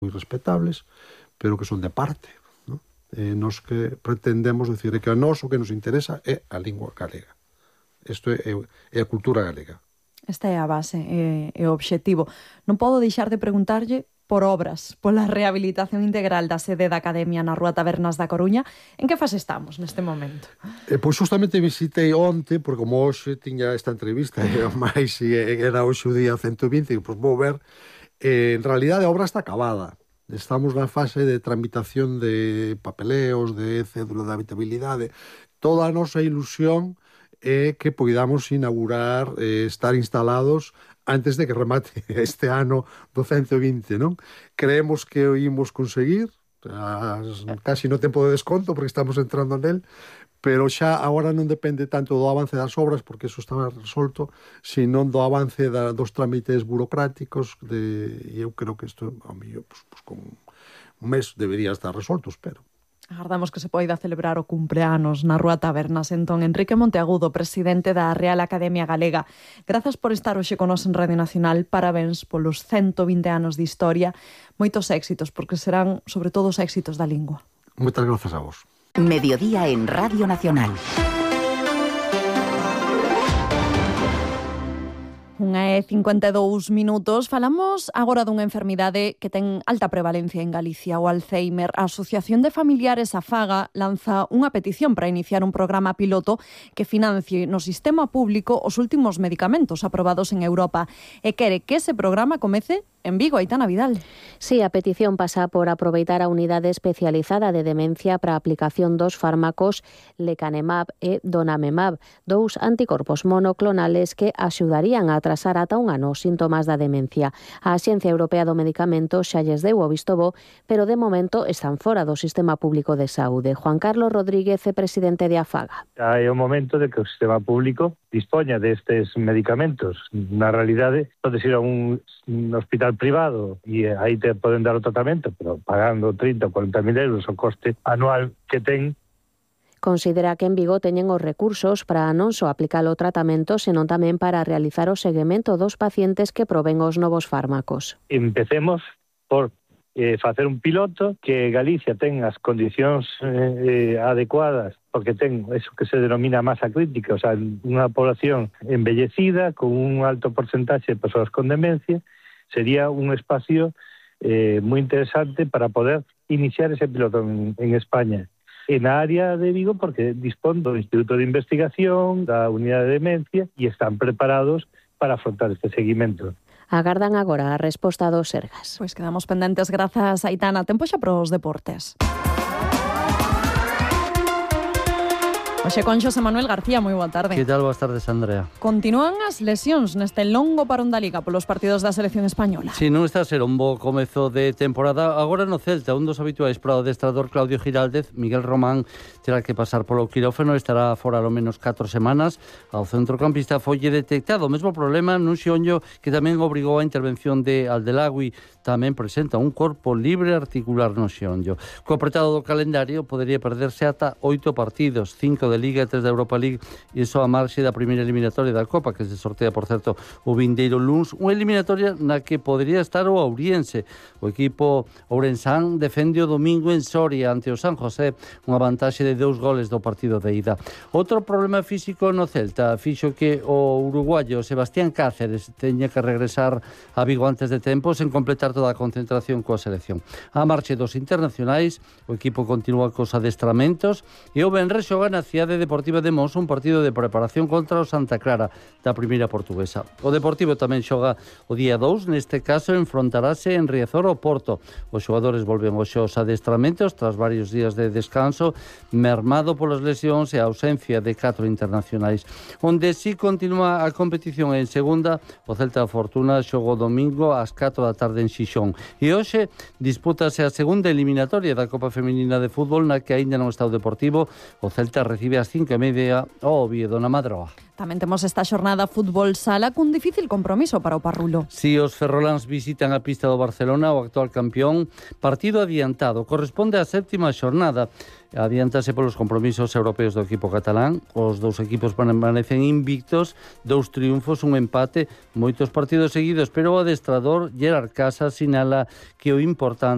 moi respetables, pero que son de parte, non? Nos que pretendemos decir que a nós o que nos interesa é a lingua galega. Isto é a cultura galega. Esta é a base, é o obxectivo. Non podo deixar de preguntarlle por obras, pola rehabilitación integral da sede da Academia na Rúa Tabernas da Coruña. En que fase estamos neste momento? Pois justamente visitei onte, porque como hoxe tiña esta entrevista, máis era hoxe o día 120, pois vou ver, en realidade a obra está acabada. Estamos na fase de tramitación de papeleos, de cédula de habitabilidade. Toda a nosa ilusión é que poidamos inaugurar, estar instalados antes de que remate este ano do 120, non? Creemos que o imos conseguir, casi no tempo de desconto, porque estamos entrando nel, pero xa agora non depende tanto do avance das obras, porque eso está resolto, sino do avance dos trámites burocráticos, e eu creo que isto, ao mellor, pues, con un mes debería estar resolto, espero. Agardamos que se poida celebrar o cumpleanos na Rúa Tabernas. Entón, Enrique Monteagudo, presidente da Real Academia Galega, grazas por estar hoxe con nos en Radio Nacional. Parabéns polos 120 anos de historia. Moitos éxitos, porque serán, sobre todo, os éxitos da lingua. Moitas grazas a vos. Mediodía en Radio Nacional. 1:52. Falamos agora dunha enfermidade que ten alta prevalencia en Galicia, o Alzheimer. A Asociación de Familiares AFAGA lanza unha petición para iniciar un programa piloto que financie no sistema público os últimos medicamentos aprobados en Europa e quere que ese programa comece en Vigo. Aitana Vidal. Sí, a petición pasa por aproveitar a unidade especializada de demencia para a aplicación dos fármacos lecanemab e donanemab, dous anticorpos monoclonales que axudarían a atrasar ata un ano os síntomas da demencia. A Axencia Europea do Medicamento xa lles deu o visto bo, pero de momento están fora do sistema público de saúde. Juan Carlos Rodríguez é presidente de AFAGA. É o momento de que o sistema público dispoña destes medicamentos. Na realidade, podes ir a un hospital privado e aí te poden dar o tratamento, pero pagando 30 ou 40 mil euros o coste anual que ten. Considera que en Vigo teñen os recursos para non só aplicar o tratamento, senón tamén para realizar o seguimento dos pacientes que proben os novos fármacos. Empecemos por facer un piloto, que Galicia ten as condicións adecuadas, porque ten eso que se denomina masa crítica, o sea, unha población envellecida con un alto porcentaxe de persoas con demencia. Sería un espacio moi interesante para poder iniciar ese piloto en España. En a área de Vigo, porque dispón do Instituto de Investigación, da Unidade de Demencia, e están preparados para afrontar este seguimento. Agardan agora a resposta dos Sergas. Pois quedamos pendentes, grazas, Aitana. Tempo xa para os deportes. Oxe, con Xosé Manuel García, moi boa tarde. Que tal? Boas tardes, Andrea. Continúan as lesións neste longo parón da Liga polos partidos da selección española. Si, non está a ser un bo comezo de temporada. Agora no Celta, un dos habituais para o adestrador Claudio Giraldez, Miguel Román, terá que pasar polo quirófano, estará fora ao menos 4 semanas. Ao centrocampista folle detectado o mesmo problema nun xeonllo que tamén obrigou a intervención de Aldelagui. Tamén presenta un corpo libre articular no xeonllo. Co apretado do calendario podería perderse ata 8 partidos, 5 de Liga e 3 da Europa League, e iso a marxe da primeira eliminatoria da Copa, que se sortea, por certo, o vindeiro luns, unha eliminatoria na que podría estar o Ouriense. O equipo ourensán defende o domingo en Soria ante o San José, unha vantaxe de 2 goles do partido de ida. Outro problema físico no Celta fixo que o uruguayo Sebastián Cáceres teña que regresar a Vigo antes de tempo, sen completar toda a concentración coa selección. A marche dos internacionais, o equipo continúa cos adestramentos e o venres xoga na Cidade Deportiva de Mos un partido de preparación contra o Santa Clara da primeira portuguesa. O Deportivo tamén xoga o día 2, neste caso enfrontarase en Riazor ao Porto. Os xogadores volven aos xos adestramentos tras varios días de descanso, mermado polas lesións e a ausencia de 4 internacionais. Onde si continúa a competición en segunda, o Celta Fortuna xoga o domingo ás 4 da tarde en Xixón. E hoxe dispútase a segunda eliminatoria da Copa Feminina de Fútbol, na que aínda non está o Deportivo. O Celta recibe ás 5:30 o Oviedo na Madroa. Tamén temos esta xornada fútbol sala cun difícil compromiso para o Parrulo. Si os ferroláns visitan a pista do Barcelona, o actual campeón, partido adiantado, corresponde á 7ª xornada. Adiántase polos compromisos europeos do equipo catalán. Os dous equipos permanecen invictos, 2 triunfos, un empate, moitos partidos seguidos, pero o adestrador Gerard Casas sinala que o importante